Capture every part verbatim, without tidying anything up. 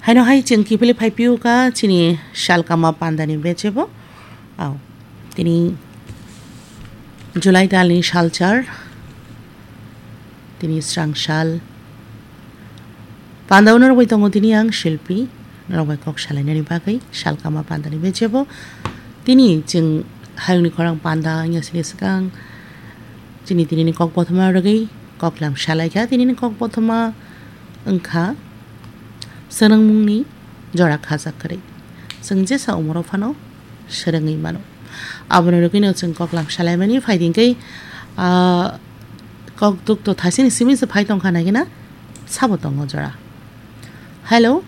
Haino hai chwng kiphilwi phai phiyokha chini salkama pandani bejebo. Au, tini July talni salchar, tini srang sal. Panda uno rwgwi tongo tini ang Shilpi, norok bai kok salainani bagwi salkama pandani bejebo. Tini chwng hayungni khorang panda wngya sini swkang chini tinini kok bothoma rwgwi koklam salaikha. Tinini kok bothoma wngkha swnangmungni jora khajak kwrwi. Chwng jesa umoro phano swrwngwi mano. Aboni rwgwino chwng koklam salaimani phaidi hwnkhe, ah, kok dukto thasini simi se phai tongkha naikhe na sabo tongo jora. Hello.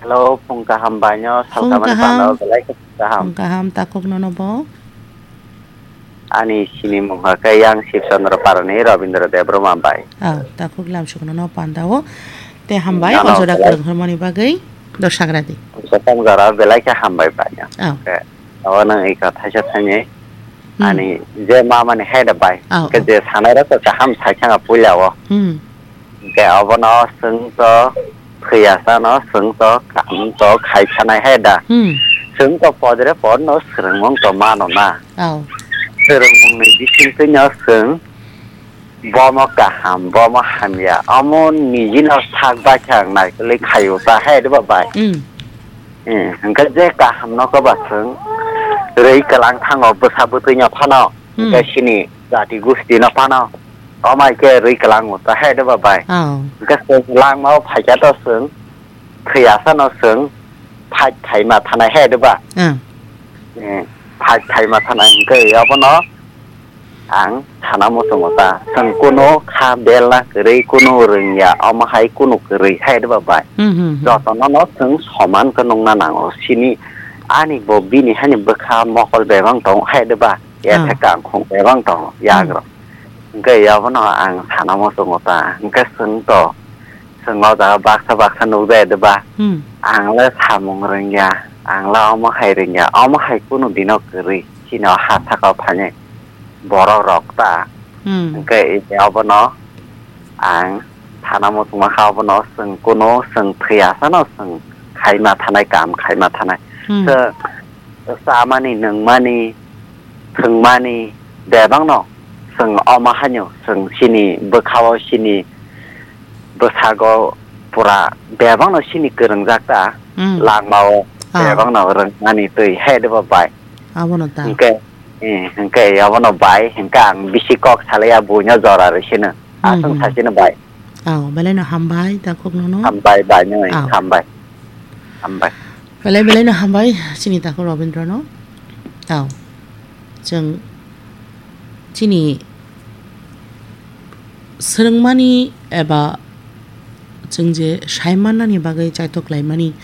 Hello, phung kaham baino, Phung salkamani kaham. Pano belai khe kaham. Phung kaham, takhuk nono bo. Ani sini mungha khe yang Shibchandra Parani Rabindra Debbarma bai. Ah, takhuk lamsuk nono pandao. Te hambai, Nono o jora belai. Kwrwng hormani bagwi dosagra di. Kwcham jora belai khe hambai bai. Ah. Khe, o nang ika thaisa thani. Hmm. Ani je ma mani hai da bai. Ah, Khe ah. Je sanai rok kaham sai sanga puila o. Hmm. Khe obono swng to thwiya sano swng to kam to khai sanai hai da. Hmm. Swng to podre podno swrwngmung to mano na. Oh. Swrwngmungni bisingtwi no swng bomo kaham, bomo hamya. Omo nijino sak baithang naikolwi khaio ta hai da ba bai. Hmm. Eh, hwnkhe je kaham no koba swng rwi kwlang thango bwsa bwtwi no phano. Hmm. Hwnkhe sini jati gusti no phano. Omai khe rwi kwlango ta hai da ba bai. Oh. Hwnkhe swng langmao phaikha to swng thwi asano swng phai phaima thanai hai da ba. Ah. Eh, phai phaima thanai hwnkhe obono ang sana muchungo ta. Swng kunu kha belna kwrwi kunu rwngya omo hai kunu kwrwi hai da ba bai. Hmm, hmm, hmm. Jotono no swng soman khe nungna nango. Sini ani bo bini hani bwkha mokol bebang tong hai da ba. Ya Ah. Theka ang khung bebang tong Hmm. yagrok. Hwnkhe yabono ang sana muchungo ta. Hwnkhe swng to. Swng o jaga baksa baksa nukjai de ba. Hmm. Ang le samung rwngya. Ang le omo hai rwngya. Omo hai kunu dino kwrwi. Chini o ha saka o phainai borok rok ta. Hmm. Hwnkhe abono ang sana muchungma kha abono swng kunu swng thwi asano swng khaima thanai kam khaima thanai. Hmm. Swng chamani, nungmani, thwngmani, bebakno chwng omo haino chwng chini bwkhao, chini bwsago pura bebakno chini kwrwngjak ta, Hmm. langmao Ah. bebakno rwngmani twi hai de bo bai. Abono ta. Hwnkhe, eh, hwnkhe abono bai, hwnkhe ang bisi kok salaiya buino jora rw sino. Hmm, Aswng hmm. Sachino bai. Aw, belai no hambai, takhuk nono. Hambai, bai, noi, Aw. Hambai. Hambai. Belai, belai no hambai, chini takhuk Robindra no. Aw, chwng chini swrwngmani eba chwng je sai mannani bagwi chaitok laimani,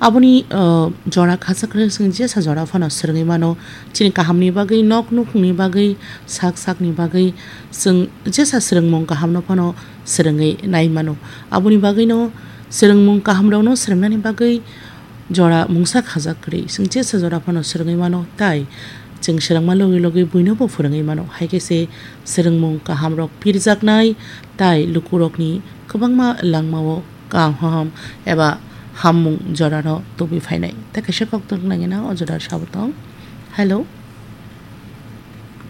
aboni, uh, jora khasa kwrwi chwng jesa jora phano swrwngwi mano. Chini kahamni bagwi, nok nukhungni bagwi, sak sakni bagwi chwng jesa swrwngmung kahamno phano swrwngwi nai mano. Aboni bagwino swrwngmung kahamrokno swrwngnani bagwi jora mungsa khajak kwrwi. Chwng jesa jora phano swrwngwi mano, tai chwng swrwngma logi logi buinobo phwrwngwi mano. Hai khe se swrwngmung kahamrok pirjaknai, tai lukurokni kwbangma langmao kaham eba hammung jorano tubui phainai. Tai kaisa kok tong nangina o jora sabo tong. Hello.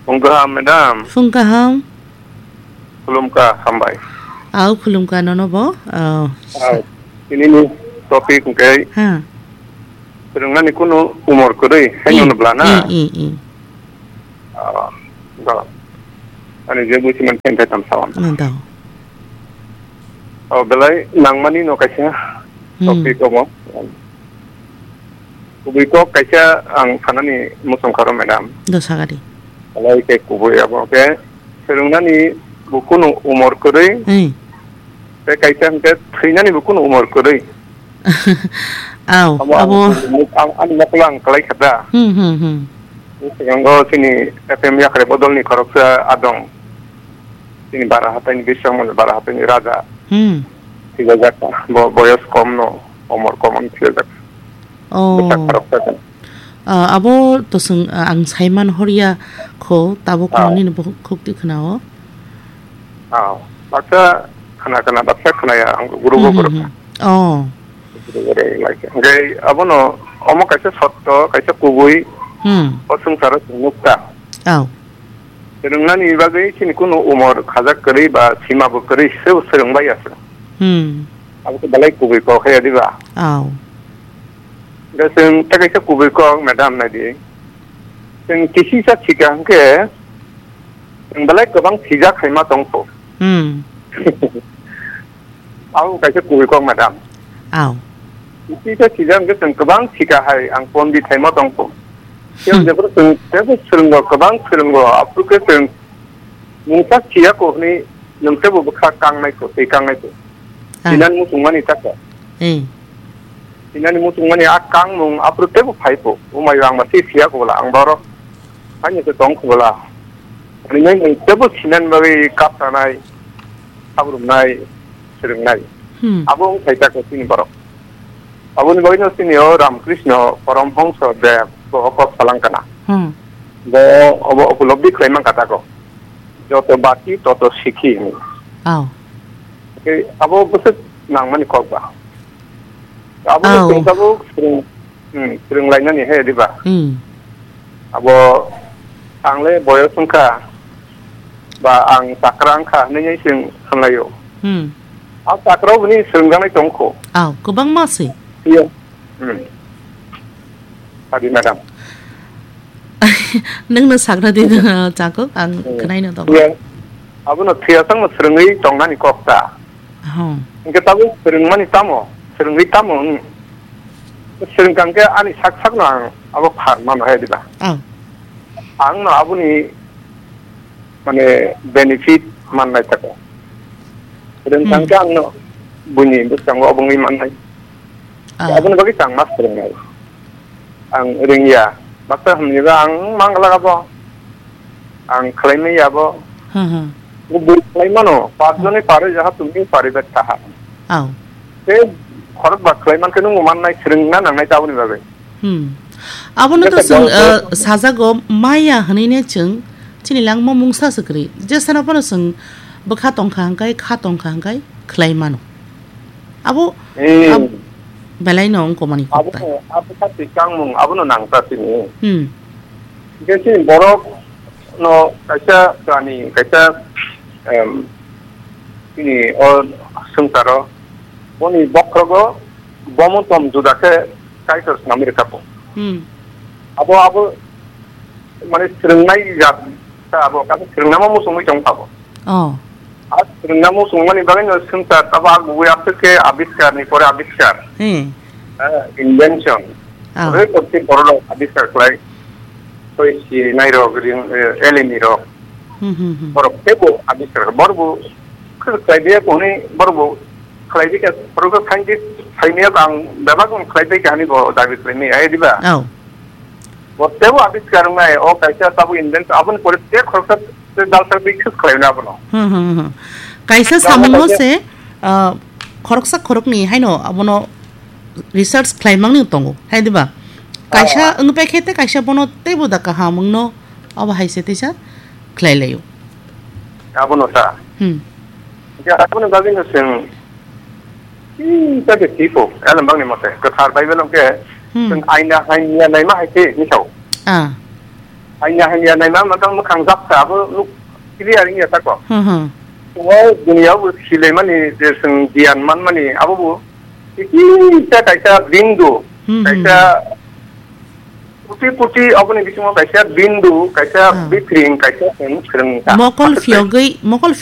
Phung kaham, madam. Phung kaham. Khulumkha, hambai. Au, khulumkha nono bo. Au. Au. Tinini topic hwnkhe Ha. Swrwngnani kunu umor kwrwi, hai Hmm. nono bla na? Hmm, hmm, hmm. Ah, ba. Ani je busi man khe tam sawan. Nang tao. Oh, belai nangmani no kaisa Hmm. Topic omo. Kubui kok kaisa ang sanani muchung kharo, madam. Do sagadi. Alai khe kubui abo khe swrwngnani bo kunu umor kwrwi. Hmm. Tei kaisa hwnkhe thwinani bo kunu umor kwrwi. Au, Abo abo. Ang, ang, ani mokolo ang kwlai kha da. Hmm, hmm, hmm. Sigango chini F M yakhare bodolni khoroksa adong. Chini bara hataini bisong mani bara hataini raja. Hmm. Thwijajak bo boyos kom no, omor kom no thwijajak. Oh. Bwsak khoroksa khe. Ah, abo to swng, ah, ang saiman horya kho, tabuk Ah. Nini bo khuk ti khna o. Ah, baksa khna khna, baksa khna ya, ang guru Hmm, go hmm, guru. Hmm. Oh. Hwnkhe abono omo kaisa sotto, kaisa kubui Hmm. o swngcharo chwng nukta. Aw. Swrwngnani bagwi chini kunu umor khajak kwrwi ba sima bo kwrwi se swrwng bai ya se. Hmm. Abo khe belai kubui kok hai diba? Aw. Da chwng tei kaisa kubui kok, madam, naidi. Chwng kisisa thika hwnkhe chwng belai kwbang thijak hai ma tongkho. Hmm. Abo kaisa kubui kok, madam. Aw. Tei khe sijak hwnkhe chwng kwbang sika hai ang pondit hai ma tongkho. Tei Hmm. jephru chwng teibo swrwngo, kwbang swrwngo, aphuru khe chwng mungsa siya kho hwnwi nwng teibo bwkha kangnai kho, tei kangnai kho. Ah. Sinani muchungmani takha. Eh. Sinani muchungmani a kangmung aphuru teibo phai kho. Umai ang ba se siya kho bwla ang borok. Haino se tong kho bwla. Ani nai nwng teibo sinani bagwi kap tanai. Sabrumnai, swrwngnai. Hmm. Abo wng khaisa khe chini borok. Aboni bagwino chini o Ramakrishna Paramhangsa Dev bo o kok salang kana. Hmm. Bo obo upolobdi khlai man kha tako. Joto bati, toto sikhi hwnwi. Aw. Tei abo bwswk nangmani kok ba. Abo Aw. Chwng tabuk swrwng Hmm, swrwng lainani he, diba? Hmm. Abo ang le boyos wngkha, ba ang chakra wngkha hinwi chwng hwnlaio. Hmm. A chakra bini swrwngjaknai tongkho. Aw, kwbangma se. Iya. Hmm. Adi, madam. Nwngno sakra di, chakuk, ang Hmm. khwnaino tongo. Iya. Abono thwiya changno swrwngwi tongnani kok ta. Aho. Hwnkhe tabuk swrwngmani tamo? Swrwngwi tamo wng? Swrwngkha hwnkhe ani sak sakno ang abo phan mano hai diba? Oh. Ang no aboni mane benefit mannai tako. Swrwngkha Hmm. hwnkhe ang no buini bwskango obo wngwi mannai. Ah. Aboni bagwi chang ma swrwngnai. Ang rwngya. Baksa hamniba ang mangla abo. Ang khlaimaya abo. Hmm, hmm. Bo bui khlaimano. Pas Hmm. joni pare jaha tumi pare bet taha. Aw. Tei khorok ba khlaiman khe nung mannai swrwngna nangnai taboni bagwi. Hmm. Abono to Jesa chwng, bol-, uh, bol- sajago maya hwnwi ne chwng chini langma mungsa swkri. Jesano bono chwng bwkha tongkha hwnkhe, kha tongkha hwnkhe khlai mano. Abo, Hmm. ab-, belai no wngkha mani Abo, koktai. Abo kha twi kangmung, abono nangta sini. Hmm. Hingke chini borok no kaisa kani, kaisa, em, chini o swngcharo, boni bokhorogo bomo tom juda khe Kaitor swnamwi rwkha po. Hmm. Abo, abo, mane swrwngnai jat ta abo, kaisa swrwngnama muchungwi tong abo. Oh. A swrwngnama muchungmani bagwi no swngchar abo a gubui aswk khe abiskar ni pore abiskar. Hmm. Eh, invention. Oh. Ore kochi borok abiskar khlai. Toi si nai rok ring, eh, eleni rok. Hmm, hmm, hmm. Borok tebo abiskar. Borok bo khlai dia koni borok bo khlai dia, borok scientist khlai nia ang bebak khlai dia kani bo dabi khlai ni ai diba. Oh. Bo tebo abiskar wngnai, o kaisa tabuk invention, aboni pore te khoroksa te dalsa twi khis khlaina abono. Hmm, hmm, hmm. Kaisa Tabuk samungno kaisa se, ah, khoroksa khorokni haino abono research khlaimangni tongo, hai diba? Kaisa Ah. wngpai khe te kaisa bono teibo da kaham wngno, abo hai se teisa khlai laio. Abono ta. Hmm. Ya, abono bagwi no chwng Chini ta de tipo, elem bangni mote. Kwthar Bible hwnkhe, Hmm. chwng aina hamya naima hai khe hinwi sao. Ah. Aina hamya naima matang mwkhang japsa abo nuk clear wngya tako. Hmm, hmm. O duniya bo silaimani je chwng giyan manmani abo bo kisa kaisa bindu, Hmm, hmm, kaisa hmm. Puti puti aboni bisingo kaisa bindu, kaisa Ah. bithring, kaisa chwng swrwng ta. Mokol phiyogwi, mokol